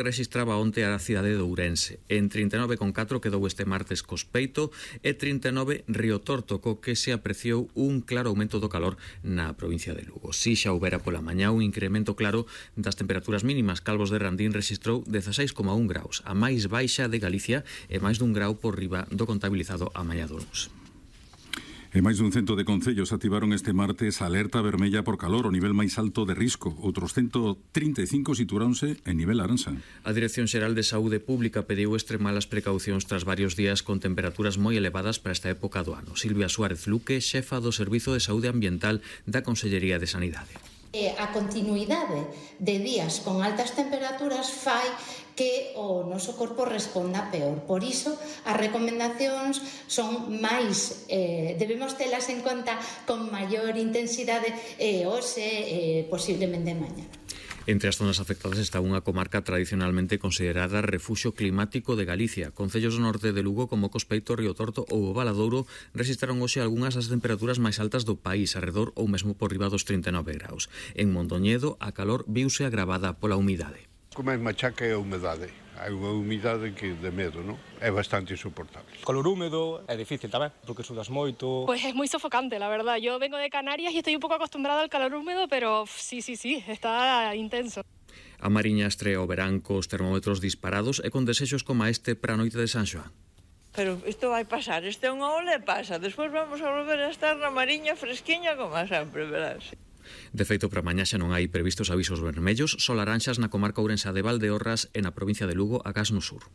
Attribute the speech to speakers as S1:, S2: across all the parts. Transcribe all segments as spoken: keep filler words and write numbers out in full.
S1: rexistraba onte a cidade de Ourense. En trinta e nove coma catro quedou este martes Cospeito e trinta e nove Riotorto, co que se apreciou un claro aumento do calor na provincia de Lugo. Si xa houbera pola mañá un incremento claro das temperaturas mínimas, Calvos de Randín rexistrou dezaseis coma un graus, a máis baixa de Galicia e máis dun grau por riba do contabilizado a mañá do luns.
S2: E máis dun cento de concellos activaron este martes a alerta vermella por calor, o nivel máis alto de risco. Outros ciento trinta e cinco situaronse en nivel laranxa.
S1: A Dirección Xeral de Saúde Pública pediu extremar as precaucións tras varios días con temperaturas moi elevadas para esta época do ano. Silvia Suárez Luque, xefa do Servizo de Saúde Ambiental da Consellería de Sanidade.
S3: E a continuidade de días con altas temperaturas fai que o noso corpo responda peor. Por iso, as recomendacións son máis, eh, debemos telas en conta con maior intensidade e hoxe, eh, posiblemente mañá.
S1: Entre as zonas afectadas está unha comarca tradicionalmente considerada refuxio climático de Galicia. Concellos do norte de Lugo como Cospeito, Riotorto ou o Valadouro rexistraron hoxe algunhas das temperaturas máis altas do país, arredor ou mesmo por riba dos trinta e nove graus. En Mondoñedo, a calor viuse agravada pola humidade.
S4: Como é machaca é a humedade. Hai unha humidade que de medo, non? É bastante insoportable.
S5: Color húmedo é difícil tamén, porque sudas moito.
S6: Pues es muy sofocante, la verdad. Yo vengo de Canarias y estoy un poco acostumbrada al calor húmedo, pero sí, sí, sí, está intenso.
S1: A Mariña estrea o verán cos termómetros disparados e con desexos como este para a noite de San Xoán.
S7: Pero isto vai pasar, este é unha ola e pasa. Despois vamos a volver a estar na Mariña fresquiña como sempre, verás.
S1: De feito, para mañá xa non hai previstos avisos vermellos, só laranxas na comarca ourensa de Valdeorras e na provincia de Lugo, agás no sur.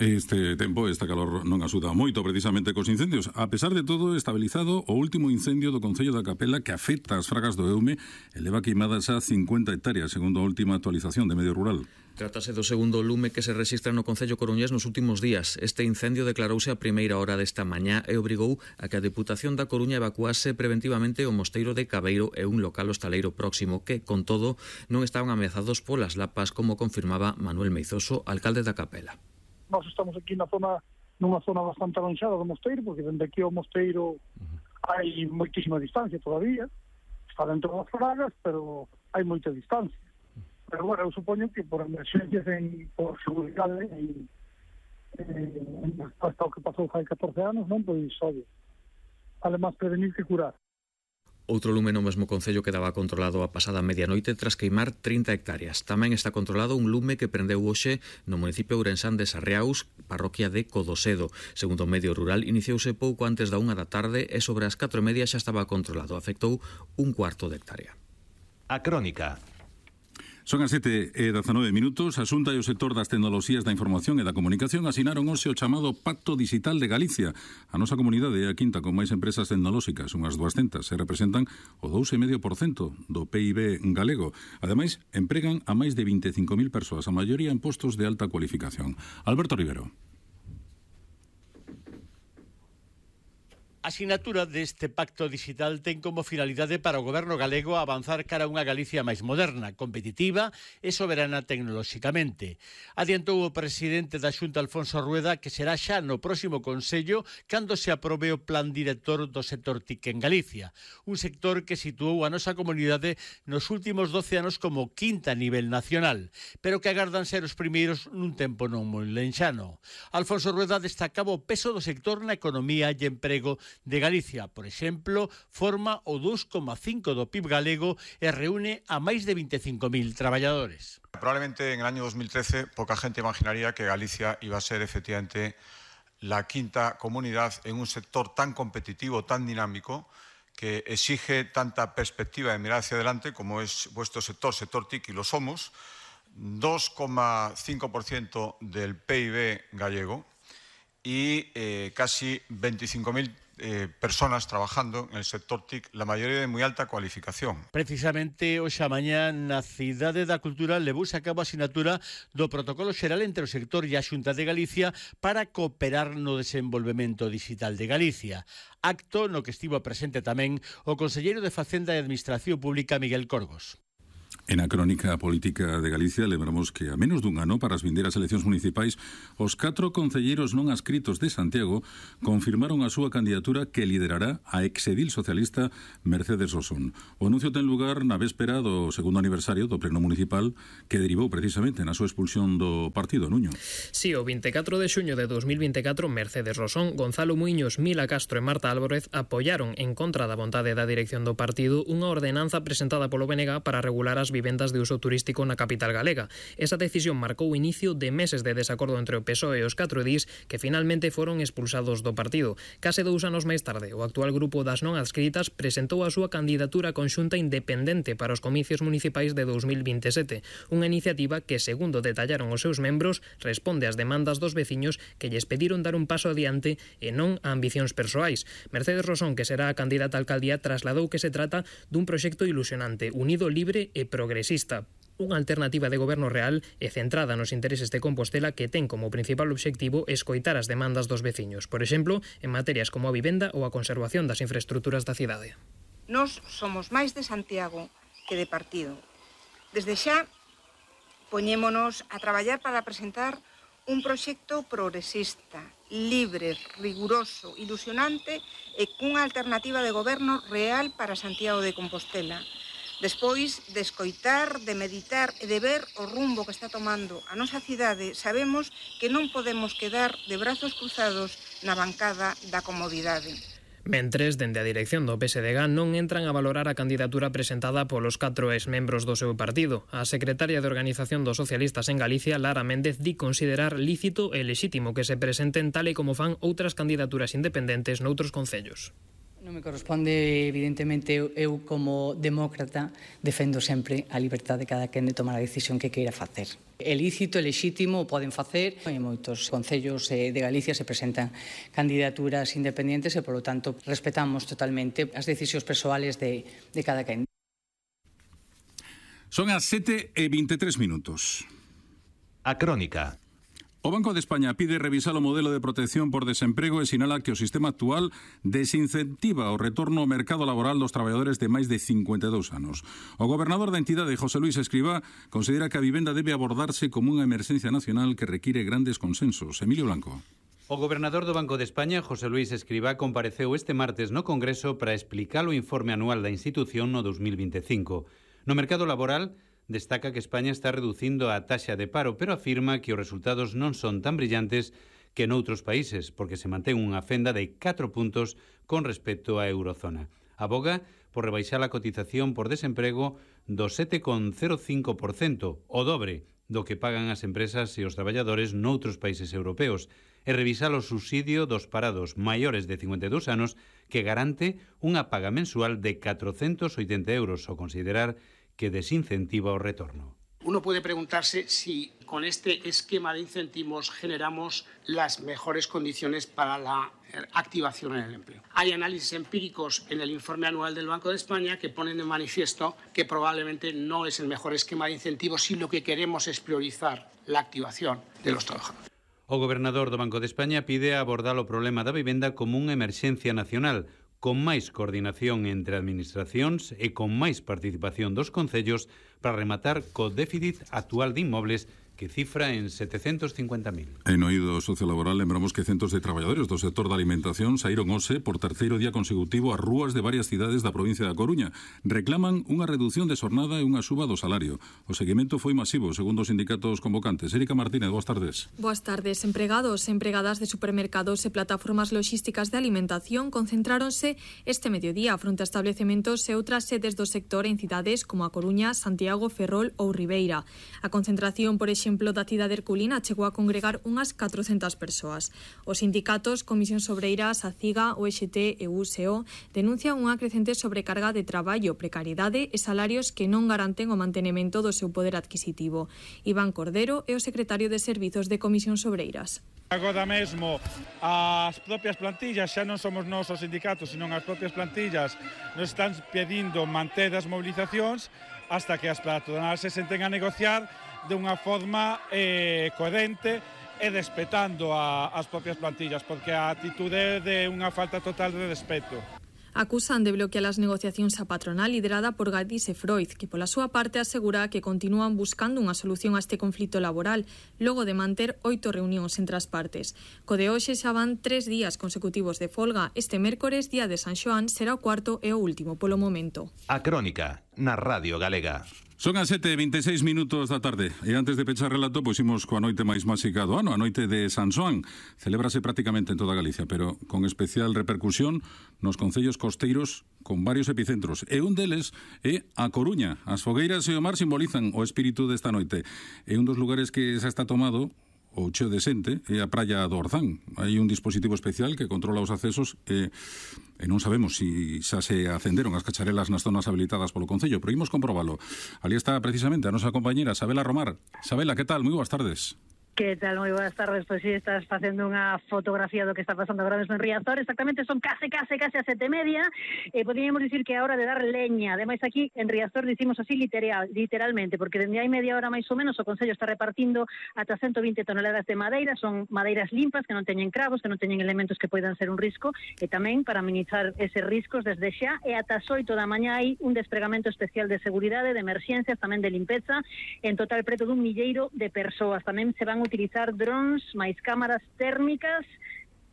S2: Este tempo, esta calor non axuda moito precisamente cos incendios. A pesar de todo, estabilizado o último incendio do Concello da Capela que afecta as fragas do Eume e leva queimadas a cincuenta hectáreas, segundo a última actualización de Medio Rural.
S1: Trátase do segundo lume que se rexistra no Concello coruñés nos últimos días. Este incendio declarouse a primeira hora desta mañá e obrigou a que a Deputación da Coruña evacuase preventivamente o mosteiro de Cabeiro e un local hostaleiro próximo que, con todo, non estaban ameazados polas lapas, como confirmaba Manuel Meizoso, alcalde da Capela.
S8: Nós estamos aquí na zona, nunha zona bastante alonxada do mosteiro, porque dende aquí ao mosteiro uh-huh. hai moitísima distancia todavía. Está dentro das fragas, pero hai moita distancia. Pero, bueno, eu supoño que por emerxencias en, por seguridade en, en, hasta o que pasou hai catorce anos, non? Pois, oye, vale máis prevenir que curar.
S1: Outro lume no mesmo concello quedaba controlado a pasada medianoite tras queimar trinta hectáreas. Tamén está controlado un lume que prendeu hoxe no municipio ourensán de Sarriaus, parroquia de Codosedo. Segundo o Medio Rural, iniciouse pouco antes da unha da tarde e sobre as catro e media xa estaba controlado. Afectou un cuarto de hectárea.
S9: A Crónica.
S2: Son as sete e dezanove minutos. A Xunta e o sector das tecnoloxías da información e da comunicación asinaron hoxe o chamado Pacto Digital de Galicia. A nosa comunidade é a quinta con máis empresas tecnolóxicas, unhas duascentas, e representan o dous coma cinco por cento do P I B galego. Ademais, empregan a máis de vinte e cinco mil persoas, a maioría en postos de alta cualificación. Alberto Rivero.
S10: A sinatura deste pacto digital ten como finalidade para o goberno galego avanzar cara a unha Galicia máis moderna, competitiva e soberana tecnolóxicamente. Adiantou o presidente da Xunta, Alfonso Rueda, que será xa no próximo Consello cando se aprobe o plan director do sector TIC en Galicia, un sector que situou a nosa comunidade nos últimos doce anos como quinta a nivel nacional, pero que agardan ser os primeiros nun tempo non moi lenxano. Alfonso Rueda destacaba o peso do sector na economía e emprego de Galicia, por exemplo, forma o dous coma cinco do P I B galego e reúne a máis de vinte e cinco mil traballadores.
S11: Probablemente en el año dos mil trece poca gente imaginaría que Galicia iba a ser efectivamente la quinta comunidad en un sector tan competitivo, tan dinámico, que exige tanta perspectiva de mirar hacia adelante como es vuestro sector, sector TIC, y lo somos, dos coma cinco por ciento del P I B gallego y eh, casi veinticinco mil Eh, personas trabajando en el sector TIC, la maioría de moi alta cualificación.
S10: Precisamente hoxe a mañá na Cidade da Cultura levouse a cabo a sinatura do protocolo xeral entre o sector e a Xunta de Galicia para cooperar no desenvolvemento digital de Galicia. Acto no que estivo presente tamén o conselleiro de Facenda e Administración Pública, Miguel Corgos.
S2: En a crónica política de Galicia lembramos que a menos dun ano para as vindeiras eleccións municipais os catro concelleiros non adscritos de Santiago confirmaron a súa candidatura que liderará a exedil socialista Mercedes Rosón. O anuncio ten lugar na véspera do segundo aniversario do pleno municipal que derivou precisamente na súa expulsión do partido, Nuño.
S12: Si, o vinte e catro de xuño de dos mil vinte e catro Mercedes Rosón, Gonzalo Muiños, Mila Castro e Marta Álvarez apoiaron en contra da vontade da dirección do partido unha ordenanza presentada polo B N G para regular as vivendas de uso turístico na capital galega. Esa decisión marcou o inicio de meses de desacordo entre o P S O E e os catro edís que finalmente foron expulsados do partido. Case dous anos máis tarde, o actual grupo das non adscritas presentou a súa candidatura conxunta independente para os comicios municipais de dos mil vinte e sete, unha iniciativa que, segundo detallaron os seus membros, responde ás demandas dos veciños que lles pediron dar un paso adiante e non a ambicións persoais. Mercedes Rosón, que será a candidata a alcaldía, trasladou que se trata dun proxecto ilusionante, unido, libre e progresista, unha alternativa de goberno real e centrada nos intereses de Compostela que ten como principal obxectivo escoitar as demandas dos veciños, por exemplo, en materias como a vivenda ou a conservación das infraestruturas da cidade.
S13: Nós somos máis de Santiago que de partido. Desde xa, poñémonos a traballar para presentar un proxecto progresista, libre, riguroso, ilusionante e cunha alternativa de goberno real para Santiago de Compostela. Despois de escoitar, de meditar e de ver o rumbo que está tomando a nosa cidade, sabemos que non podemos quedar de brazos cruzados na bancada da comodidade.
S12: Mentres, dende a dirección do P S D G non entran a valorar a candidatura presentada polos catro exmembros do seu partido. A secretaria de Organización dos Socialistas en Galicia, Lara Méndez, di considerar lícito e lexítimo que se presenten tal e como fan outras candidaturas independentes noutros concellos.
S14: Non me corresponde, evidentemente, eu como demócrata defendo sempre a liberdade de cada quen de tomar a decisión que queira facer. É lícito, é lexítimo, o poden facer. En moitos concellos de Galicia se presentan candidaturas independentes e, polo tanto, respetamos totalmente as decisións persoales de, de cada quen.
S2: Son as sete e vinte e tres minutos.
S9: A crónica.
S2: O Banco de España pide revisar o modelo de protección por desemprego e sinala que o sistema actual desincentiva o retorno ao mercado laboral dos traballadores de máis de cincuenta e dous anos. O gobernador da entidade, José Luís Escrivá, considera que a vivenda debe abordarse como unha emerxencia nacional que require grandes consensos. Emilio Blanco.
S15: O gobernador do Banco de España, José Luís Escrivá, compareceu este martes no Congreso para explicar o informe anual da institución no dos mil vinte e cinco. No mercado laboral, destaca que España está reducindo a taxa de paro, pero afirma que os resultados non son tan brillantes que noutros países, porque se mantén unha fenda de catro puntos con respecto á eurozona. Aboga por rebaixar a cotización por desemprego do sete coma cero cinco por cento, o dobre do que pagan as empresas e os traballadores noutros países europeos, e revisar o subsidio dos parados maiores de cincuenta e dous anos que garante unha paga mensual de catrocentos oitenta euros, ao considerar que desincentiva o retorno.
S16: Uno puede preguntarse si con este esquema de incentivos generamos las mejores condiciones para la activación en el empleo. Hay análisis empíricos en el informe anual del Banco de España que ponen de manifiesto que probablemente no es el mejor esquema de incentivos si lo que queremos es priorizar la activación de los trabajadores.
S15: O gobernador do Banco de España pide abordar o problema da vivenda como unha emerxencia nacional, con máis coordinación entre administracións e con máis participación dos concellos para rematar co déficit actual de inmobles que cifra en setecentos cincuenta mil.
S2: En oído sociolaboral lembramos que centos de traballadores do sector da alimentación saíron hoxe por terceiro día consecutivo ás rúas de varias cidades da provincia da Coruña. Reclaman unha reducción de xornada e unha suba do salario. O seguimento foi masivo, segundo os sindicatos convocantes. Erika Martínez, boas tardes.
S17: Boas tardes. Empregados e empregadas de supermercados e plataformas logísticas de alimentación concentráronse este mediodía fronte a establecementos e outras sedes do sector en cidades como a Coruña, Santiago, Ferrol ou Ribeira. A concentración, por exemplo, exemplo da cidade herculina chegou a congregar unhas catrocentas persoas. Os sindicatos, Comisións Obreiras, a CIGA, o E X T e o U S O denuncian unha crecente sobrecarga de traballo, precariedade e salarios que non garanten o mantenemento do seu poder adquisitivo. Iván Cordero é o secretario de Servizos de Comisións Obreiras.
S18: Agora mesmo as propias plantillas, xa non somos nós os sindicatos, senón as propias plantillas nos están pedindo manter as movilizacións hasta que as patronais se senten a negociar de unha forma eh, coherente e respetando a, as propias plantillas, porque a actitude é de unha falta total de respeto.
S17: Acusan de bloquear as negociacións a patronal liderada por Gadis e Freud, que pola súa parte asegura que continúan buscando unha solución a este conflito laboral, logo de manter oito reunións entre as partes. Co de hoxe xa van tres días consecutivos de folga. Este mércores, día de San Xoán, será o cuarto e o último polo momento.
S9: A Crónica, na Radio Galega.
S2: Son as sete e veintiséis minutos da tarde e antes de pechar relato, pois imos coa noite máis máxica do ano, a noite de San Xoán. Celébrase prácticamente en toda Galicia, pero con especial repercusión nos concellos costeiros con varios epicentros. E un deles é a Coruña. As fogueiras e o mar simbolizan o espírito desta noite. É un dos lugares que xa está tomado o cheo de xente é a praia do Orzán. Hai un dispositivo especial que controla os accesos e, e non sabemos se si xa se acenderon as cacharelas nas zonas habilitadas polo Concello, pero imos comprobalo. Ali está precisamente a nosa compañera Sabela Romar. Sabela, que tal? Moi boas tardes.
S19: Que tal? Moi boas tardes. Pois si, estás facendo unha fotografía do que está pasando agora mesmo en Riazor. Exactamente, son case, case, case a sete e media. E poderíamos dicir que é a hora de dar leña. Ademais, aquí en Riazor dicimos así literal, literalmente, porque dende hai media hora máis ou menos o Concello está repartindo ata ciento vinte toneladas de madeira. Son madeiras limpas, que non teñen cravos, que non teñen elementos que poidan ser un risco. E tamén para minimizar eses riscos desde xa. E ata as oito da mañá hai un despregamento especial de seguridade, de emerxencias, tamén de limpeza. En total, preto dun milleiro de persoas. Tamén se van utilizar drones, máis cámaras térmicas,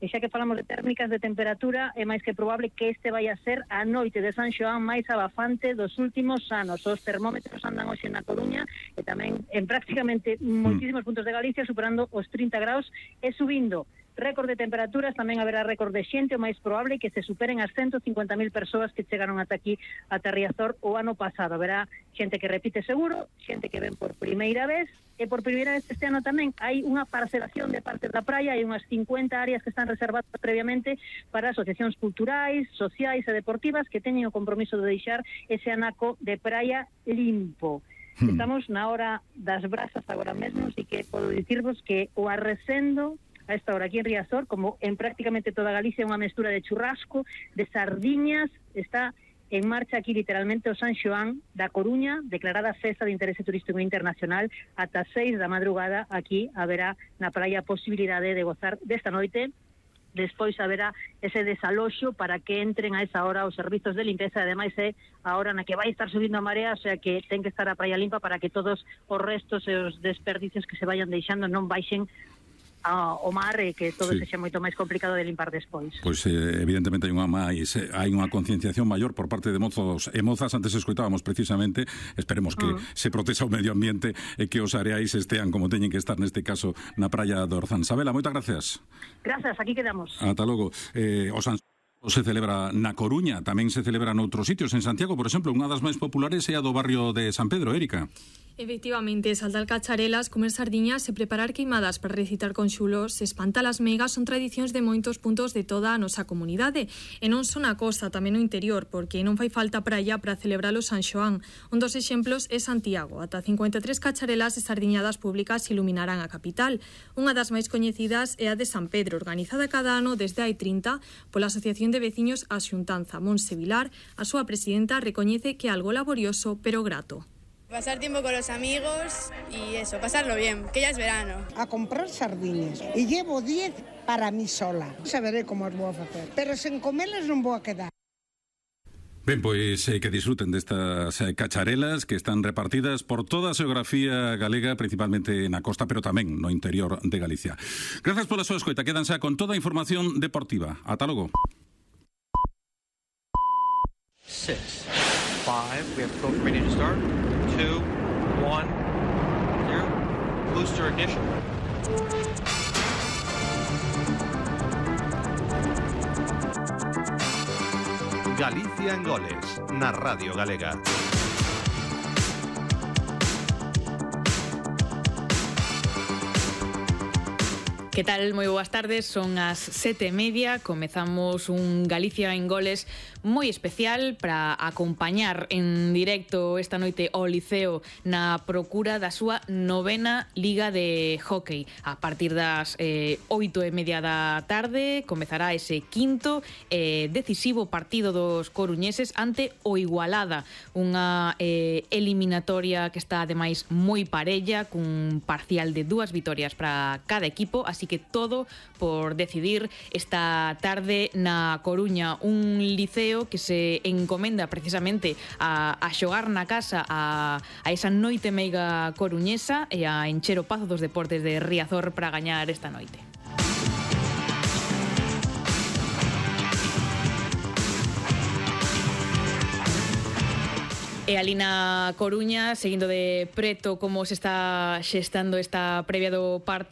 S19: e xa que falamos de térmicas de temperatura, é máis que probable que este vai a ser a noite de San Xoán máis abafante dos últimos anos. Os termómetros andan hoxe na Coruña e tamén en prácticamente moitísimos puntos de Galicia superando os trinta graus e subindo. Récord de temperaturas, tamén haberá récord de xente, o máis probable que se superen as ciento cincuenta mil persoas que chegaron ata aquí, ata Riazor, o ano pasado. Haberá xente que repite seguro, xente que ven por primeira vez, e por primeira vez este ano tamén hai unha parcelación de parte da praia, hai unhas cincuenta áreas que están reservadas previamente para asociacións culturais, sociais e deportivas que teñen o compromiso de deixar ese anaco de praia limpo. Estamos na hora das brasas agora mesmo, así que podo dicirvos que o arrecendo a esta hora aquí en Riazor, como en prácticamente toda Galicia, unha mestura de churrasco, de sardiñas, está en marcha aquí literalmente o San Xoán da Coruña, declarada festa de interese turístico internacional. Ata seis da madrugada aquí haberá na praia a posibilidade de gozar desta noite. Despois haberá ese desaloxo para que entren a esa hora os servizos de limpeza. Ademais é a hora na que vai estar subindo a marea, o sea que ten que estar a praia limpa para que todos os restos e os desperdicios que se vayan deixando non baixen ao mar e que todo sí. sexa moito máis complicado de limpar despois.
S2: Pois eh, evidentemente hai unha máis hai unha concienciación maior por parte de mozos e mozas. Antes escoitábamos precisamente, esperemos que uh. se protexa o medio ambiente e que os areais estean como teñen que estar neste caso na praia do Orzán. Sabela, moitas gracias.
S19: Gracias, aquí quedamos.
S2: Ata logo. Eh, o San se celebra na Coruña, tamén se celebra noutros sitios. En Santiago, por exemplo, unha das máis populares é a do barrio de San Pedro, Érica.
S17: Efectivamente, saltar cacharelas, comer sardiñas e preparar queimadas para recitar con xulos, espantar as meigas son tradicións de moitos puntos de toda a nosa comunidade. E non son a costa, tamén no interior, porque non fai falta praia para celebrar o San Xoán. Un dos exemplos é Santiago. Ata cincuenta e tres cacharelas e sardiñadas públicas iluminarán a capital. Unha das máis coñecidas é a de San Pedro, organizada cada ano desde hai trinta pola Asociación de Veciños a Xuntanza. Monse Vilar, a súa presidenta, recoñece que é algo laborioso, pero grato.
S20: Pasar tiempo con los amigos y eso, pasarlo bien, que ya es verano.
S21: A comprar sardiñas y llevo diez para mí sola. Saberé como as vou a facer, pero sen comelas non vou a quedar.
S2: Ben, pois eh, que disfruten destas eh, cacharelas que están repartidas por toda a xeografía galega, principalmente na costa, pero tamén no interior de Galicia. Grazas pola súa escoita, quedan xa con toda a información deportiva. Ata logo.
S22: Six, five, we have program ready to start. Two, one, zero. Booster ignition.
S9: Galicia en goles, na Radio Galega.
S23: Que tal? Moi boas tardes, son as sete e media, comezamos un Galicia en goles moi especial para acompañar en directo esta noite ao Liceo na procura da súa novena Liga de Hóckey. A partir das eh, oito e media da tarde comezará ese quinto e eh, decisivo partido dos coruñeses ante o Igualada, unha eh, eliminatoria que está ademais moi parella, cun parcial de dúas vitorias para cada equipo, así así que todo por decidir esta tarde na Coruña, un liceo que se encomenda precisamente a, a xogar na casa a, a esa noite meiga coruñesa e a encher o Pazo dos Deportes de Riazor para gañar esta noite. E ali na Coruña, seguindo de preto como se está xestando esta previa do partido,